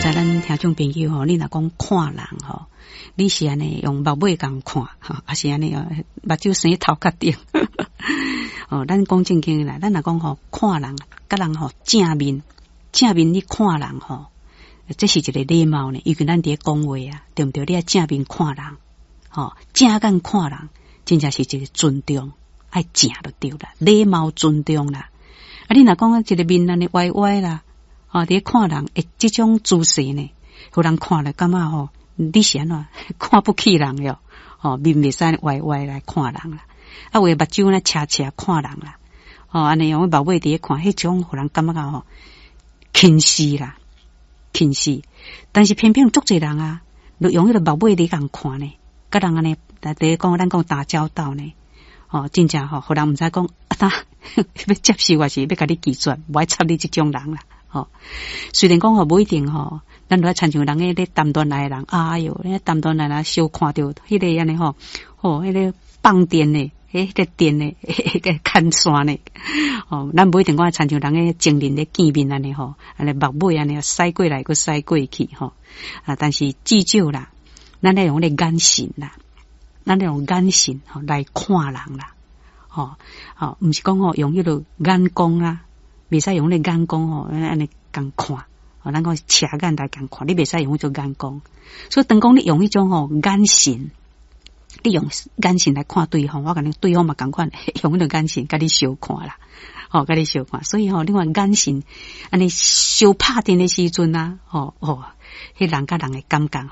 知咱聽眾朋友吼，你若講看人吼，你是按呢用目尾共看，吼，抑是按呢目睭生頭殼頂？哦，咱講正經啦，咱若講吼看人，佮人吼正面正面你看人吼，這是一個禮貌呢。尤其咱佇咧講話啊，對毋對？你愛正面看人，吼，正眼看人，真正是一個尊重，愛正就對啦，禮貌尊重啦。啊，你若講一個面按呢歪歪啦，吼，佇咧看人，欸，這種姿勢呢，予人看了感覺吼，你是按怎看不起人喲？吼，面袂使歪歪來看人啦。啊，有的目睭呢斜斜看人啦，吼，按呢用目尾佇咧看，彼種予人感覺吼輕視啦，輕視。但是偏偏足濟人啊，就用彼個目尾佇共看呢，佮人按呢，佇咧講咱講打交道呢，吼，真正吼，予人毋知講啊，他欲接受抑是欲共你拒絕，無愛插你這種人啦，吼。雖然講吼無一定吼，咱著愛親像人咧談戀愛的人，哎喲，咧談戀愛啊，相看著彼個按呢吼，吼，彼個放電的，彼個電的，彼個牽線的，吼，咱無一定講親像人咧情人咧見面按呢吼，按呢目尾按呢駛過來閣駛過去吼，啊，但是至少啦，咱愛用彼個眼神啦，咱愛用眼神吼來看人啦，吼，吼，毋是講吼用彼個眼光啊，袂使用彼個眼光吼，按呢共看，吼，咱講斜眼來共看，你袂使用彼種眼光。所以當講你用彼種吼眼神，你用眼神來看對方，我共你對方嘛仝款用彼個眼神共你相看啦，吼，共你相看。所以吼，你看眼神按呢相拍電的時陣啊，吼哦，彼人佮人的感覺吼。